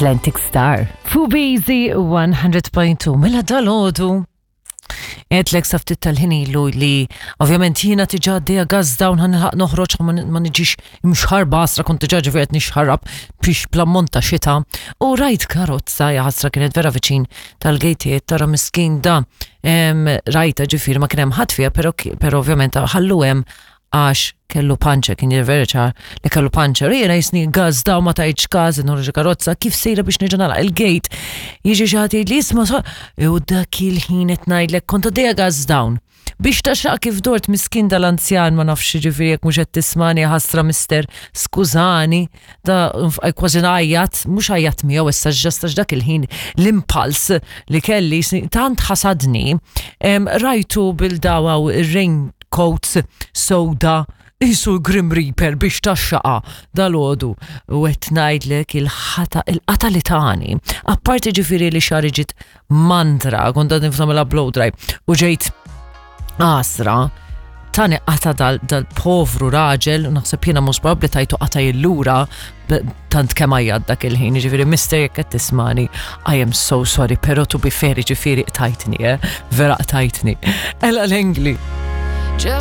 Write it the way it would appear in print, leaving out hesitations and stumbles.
Atlantic Star. Fubizi 100.2 mela dal-ħodu. Għedlek sa ftit tal-ħin ilu li ovvjament jiena tiġa għaddejja gas down ħanilħaq noħroġ ma niġix imxħarba għasra kont diġà ġifieri qed nixħarab biex bl-ammont ta' xita u rajt karozza jaħasra kienet vera viċin tal-gejtiet tara miskin da rajta ġifieri ma kien hemm ħadd fiha però ovvjament ħallu hemm għax kellu panċer, kien jidher vera ċar li kellu panċer. U jiena jisni gaz daw ma tajtx każ, nħorġ karozza, kif sejra biex nerġa' nagħlaq il-gate. Jiġi xi ħadd jgħidli isma' so. U dak il-ħin qed ngħidlek kont għaddejja gas down. Biex taxaq kif dort miskin dal-anzjan ma nafx ġifieri jekk mhux qed tismani ħasra mister, skużani, da kważi ngħajjat, mhux għajjat miegħu issa ġast għax dak il-ħin l-impulse li kelli tant ħasadni, rajtu bil-dawa u ir-rain coats sewda qisu l-Grim Reaper biex taxxaqa dalgħodu u qed ngħidlek il-ħata il-qata li tani. Apparti ġifieri li xari ġiet mandra, kont għadni f'nagħmilha blow dry u ġejt għasra tani qata dal-povru raġel, naħseb jiena mhux probabbli tajtu qata jillura tant kemm għajjat dak il-ħin, ġifieri mister jekk qed tismani, I am so sorry, però to be fair, ġifieri qtajtni, eh? vera qtajtni. Ella l-Engli.